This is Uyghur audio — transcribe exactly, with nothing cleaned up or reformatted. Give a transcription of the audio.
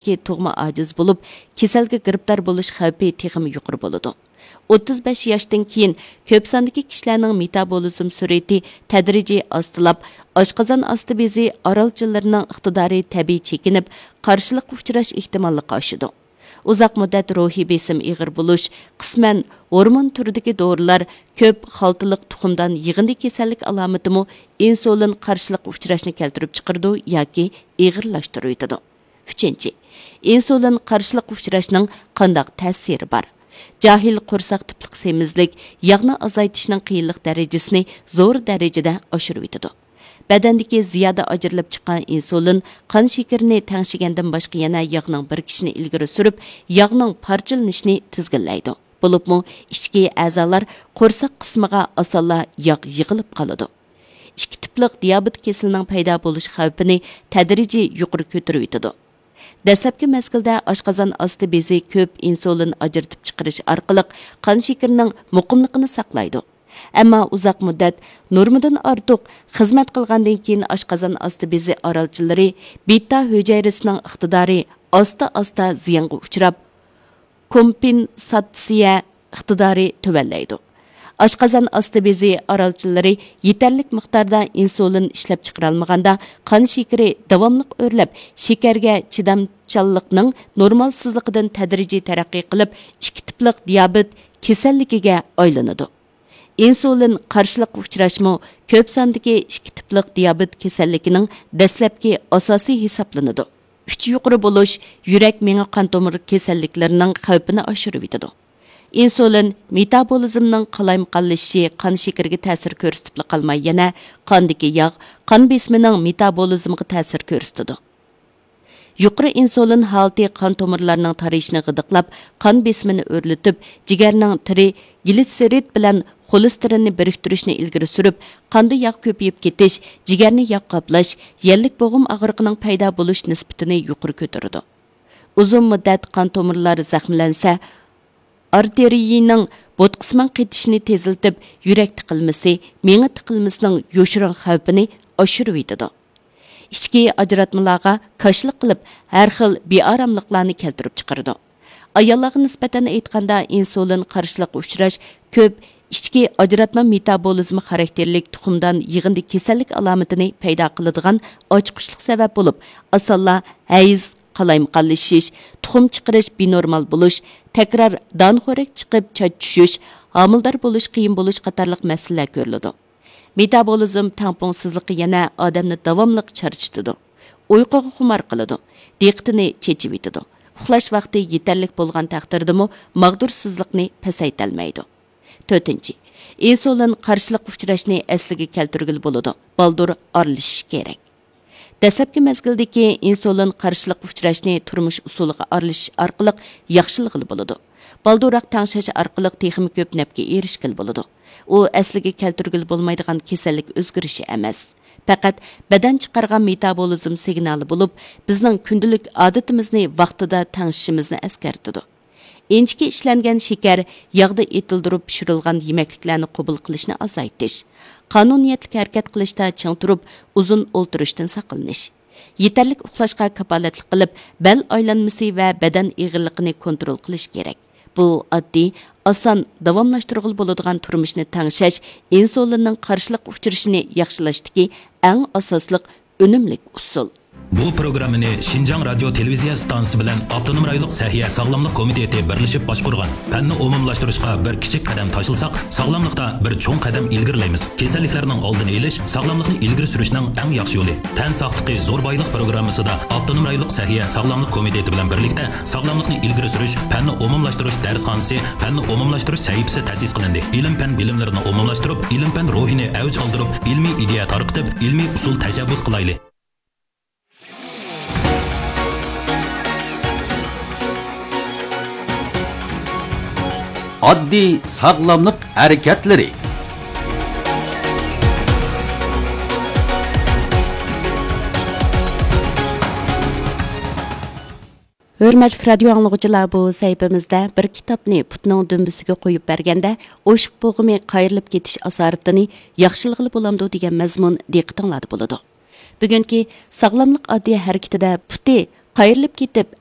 تۇغما ئاجىز بولۇپ، كېسەلگە گىرىپتار بولۇش خەۋپى تېخىمۇ يۇقىرى بولىدۇ. ئوتتۇز بەش ياشتىن كېيىن كۆپ ساندىكى كىشىلەرنىڭ مېتابولىزم سۈرئىتى تەدرىجىي ئاستىلاپ، ئاشقازان ئاستى بېزى ئارالچىلىرىنىڭ ئىقتىدارى تەبىئىي چېكىنىپ، قارشىلىققا ئۇچراش ئېھتىماللىقى ئاشىدۇ. ئۇزاق مۇددەت روھىي بېسىم ئېغىر بولۇش، قىسمەن ھورمون تۈرىدىكى دورىلار، كۆپ خالتىلىق تۇخۇمدان يىغىندى كېسەللىك ئالامىتىمۇ ئىنسۇلىن قارشىلىققا ئۇچراشنى كەلتۈرۈپ چىقىرىدۇ ياكى ئېغىرلاشتۇرۇۋېتىدۇ. ئۈچىنچى، ئىنسۇلىن قارشىلىققا ئۇچراشنىڭ قانداق تەسىرى بار؟ جاھىل قورساق تىپلىق سېمىزلىك ياغنى ئازايتىشنىڭ قىيىنلىق دەرىجىسىنى زور دەرىجىدە ئاشۇرۇۋېتىدۇ. بەدەندىكى زىيادە ئاجرىلىپ چىققان ئىنسۇلىن قان شېكىرىنى تەڭشىگەندىن باشقا يەنە ياغنىڭ بىرىكىشىنى ئىلگىرى سۈرۈپ، ياغنىڭ پارچىلىنىشىنى تىزگىنلەيدۇ. بولۇپمۇ ئىچكى ئەزالار قورساق قىسمىغا ئاسانلا ياغ يىغىلىپ قالىدۇ. ئىككى تىپلىق دىيابېت كېسىلىنىڭ پەيدا بولۇش خەۋپىنى تەدرىجىي يۇقىرى كۆتۈرۈۋېتىدۇ. دەسلەپكى مەزگىلدە ئاشقازان ئاستى بېزى كۆپ ئىنسۇلىن ئاجرىتىپ چىقىرىش ئارقىلىق قان شېكىرىنىڭ مۇقىملىقىنى ساقلايدۇ. ئەمما ئۇزاق مۇددەت نورمىدىن ئارتۇق خىزمەت قىلغاندىن كېيىن ئاشقازان ئاستى بېزى ئارالچىلىرى بېتا ھۈجەيرىسىنىڭ ئىقتىدارى ئاستا-ئاستا زىيانغا ئۇچراپ، كومپېنساتسىيە ئىقتىدارى تۆۋەنلەيدۇ. ئاشقازان ئاستى بېزى ئارالچىلىرى يېتەرلىك مىقداردا ئىنسۇلىن ئىشلەپچىقىرالمىغاندا، قان شېكىرى داۋاملىق ئۆرلەپ، شېكەرگە چىدامچانلىقنىڭ نورمالسىزلىقىدىن تەدرىجىي تەرەققىي قىلىپ، ئىككى تىپلىق دىيابېت كېسەللىكىگە ئايلىنىدۇ. ئىنسۇلىن قارشىلىققا ئۇچراشمۇ كۆپ ساندىكى ئىككى تىپلىق دىيابېت كېسەللىكىنىڭ دەسلەپكى ئاساسى ھېسابلىنىدۇ. ئۈچ يۇقىرى بولۇش يۈرەك، مېڭە، قان تومۇر كېسەللىكلىرىنىڭ خەۋپىنى ئاشۇرۇۋېتىدۇ. ئىنسۇلىن مېتابولىزمنىڭ قالايمىقانلىشىشى، قان شېكىرىگە تەسىر كۆرسىتىپلا قالماي، يەنە قاندىكى ياغ، قان بېسىمىنىڭ مېتابولىزمىغا تەسىر كۆرسىتىدۇ. يۇقىرى ئىنسۇلىن ھالىتى قان تومۇرلارنىڭ تارىيىشىنى غىدىقلاپ، قان بېسىمىنى ئۆرلىتىپ، جىگەرنىڭ تىرىگلىتسېرىد بىلەن خولېستېرىننى بىرىكتۈرۈشنى ئىلگىرى سۈرۈپ، قاندا ياغ كۆپىيىپ كېتىش، جىگەرنى ياغ قاپلاش، يەللىك بوغۇم ئاغرىقىنىڭ پەيدا بولۇش نىسبىتىنى يۇقىرى كۆتۈرىدۇ. ئۇزۇن مۇددەت قان تومۇرلار زەخىملەنسە، ئارتېرىيىنىڭ بوتقىسىمان قېتىشىنى تېزلىتىپ، يۈرەك تىقىلمىسى، مېڭە تىقىلمىسىنىڭ يوشۇرۇن خەۋپىنى ئاشۇرۇۋېتىدۇ. ئىچكى ئاجراتمىلارغا كاشىلىق قىلىپ، ھەر خىل بىئاراملىقلارنى كەلتۈرۈپ چىقىرىدۇ. ئاياللارغا نىسبەتەن ئېيتقاندا، ئىنسۇلىن قارشىلىققا ئۇچراش كۆپ ئىچكى ئاجراتما مېتابولىزمى خاراكتېرلىك تۇخۇمدان يىغىندى كېسەللىك ئالامىتىنى پەيدا قىلىدىغان ئاچقۇچلۇق سەۋەب بولۇپ، ئاسانلا ھەيز، قالايمىقانلىشىش، تۇخۇم چىقىرىش بىنورمال بولۇش، تەكرار دانىخورەك چىقىپ چاچ چۈشۈش، ھامىلىدار بولۇش قىيىن بولۇش قاتارلىق مەسىلىلەر كۆرۈلىدۇ. مېتابولىزم تەڭپۇڭسىزلىقى يەنە ئادەمنى داۋاملىق چارچىتىدۇ، ئۇيقۇغا خۇمار قىلىدۇ، دىققىتىنى چېچىۋېتىدۇ. ئۇخلاش ۋاقتى يېتەرلىك بولغان تەقدىردىمۇ ماغدۇرسىزلىقنى پەسەيتەلمەيدۇ. تۆتىنچى، ئىنسۇلىن قارشىلىققا ئۇچراشنى ئەسلىگە كەلتۈرگىلى بولىدۇ، بالدۇر ئارىلىشىش كېرەك. دەسلەپكى مەزگىلدىكى ئىنسۇلىن قارشىلىققا ئۇچراشنى تۇرمۇش ئۇسۇلىغا ئارىلىشىش ئارقىلىق ياخشىلىغىلى بولىدۇ. بالدۇرراق تەڭشەش ئارقىلىق تېخىمۇ كۆپ نەپكە ئېرىشكىلى بولىدۇ. ئۇ ئەسلىگە كەلتۈرگىلى بولمايدىغان كېسەللىك ئۆزگىرىشى ئەمەس. پەقەت بەدەن چىقارغان مېتابولىزم سىگنالى بولۇپ، بىزنىڭ كۈندىلىك ئادىتىمىزنى ۋاقتىدا تەڭشىشىمىزنى ئەسكەرتىدۇ. ئىنچىكە ئىشلەنگەن شېكەر، ياغدا ئېتىلدۇرۇپ پىشۇرۇلغان يېمەكلىكلەرنى قوبۇل قىلىشنى ئازايتىش، قانۇنىيەتلىك ھەرىكەت قىلىشتا چىڭ تۇرۇپ، ئۇزۇن ئولتۇرۇشتىن ساقلىنىش، يېتەرلىك ئۇخلاشقا كاپالەتلىك قىلىپ، بەل ئايلانمىسى ۋە بەدەن ئېغىرلىقىنى كونترول قىلىش كېرەك. بۇ ئاددىي، ئاسان، داۋاملاشتۇرغىلى بولىدىغان تۇرمۇشنى تەڭشەش، ئىنسۇلىننىڭ قارشىلىققا ئۇچرىشىنى ياخشىلاشتىكى ئەڭ ئاساسلىق ئۈنۈملۈك ئۇسۇل. بۇ پروگراممىنى شىنجاڭ رادىيو تېلېۋىزىيە ئىستانسىسى بىلەن ئاپتونوم رايونلۇق سەھىيە ساغلاملىق كومىتېتى بىرلىشىپ باشقۇرغان. پەننى ئومۇملاشتۇرۇشقا بىر كىچىك قەدەم تاشلىساق، ساغلاملىقتا بىر چوڭ قەدەم ئىلگىرىلەيمىز. كېسەللىكلەرنىڭ ئالدىنى ئېلىش، ساغلاملىقنى ئىلگىرى سۈرۈشنىڭ ئەڭ ياخشى يولى. تەن ساقلىقى زور بايلىق پروگراممىسىدا ئاپتونوم رايونلۇق سەھىيە ساغلاملىق كومىتېتى بىلەن بىرلىكتە ساغلاملىقنى ئىلگىرى سۈرۈش، پەننى ئومۇملاشتۇرۇش دەرسخانىسى، پەننى ئومۇملاشتۇرۇش سەھىپىسى تەسىس قىلىندى. ئىلىم-پەن بىلىملىرىنى ئومۇملاشتۇرۇپ، ئىلىم-پەن روھىنى ئەۋج ئالدۇرۇپ، ئىلمىي ئىدىيە تارقىتىپ، ئىلمىي ئۇسۇل تەشەببۇس قىلايلى. ئاددىي ساغلاملىق ھەرىكەتلىرى. ھۆرمەتلىك رادىيو ئاڭلىغۇچىلار، بۇ سەھىپىمىزدە بىر كىتابنى پۇتنىڭ دۈمبىسىگە قويۇپ بەرگەندە، ئوشۇق بوغۇمى قايرىلىپ كېتىش ئاسارىتىنى ياخشىلىغىلى بولامدۇ دېگەن مەزمۇن دىققىتىڭلاردا بولىدۇ. بۈگۈنكى ساغلاملىق ئاددىي ھەرىكىتىدە پۇتى قايرىلىپ كېتىپ،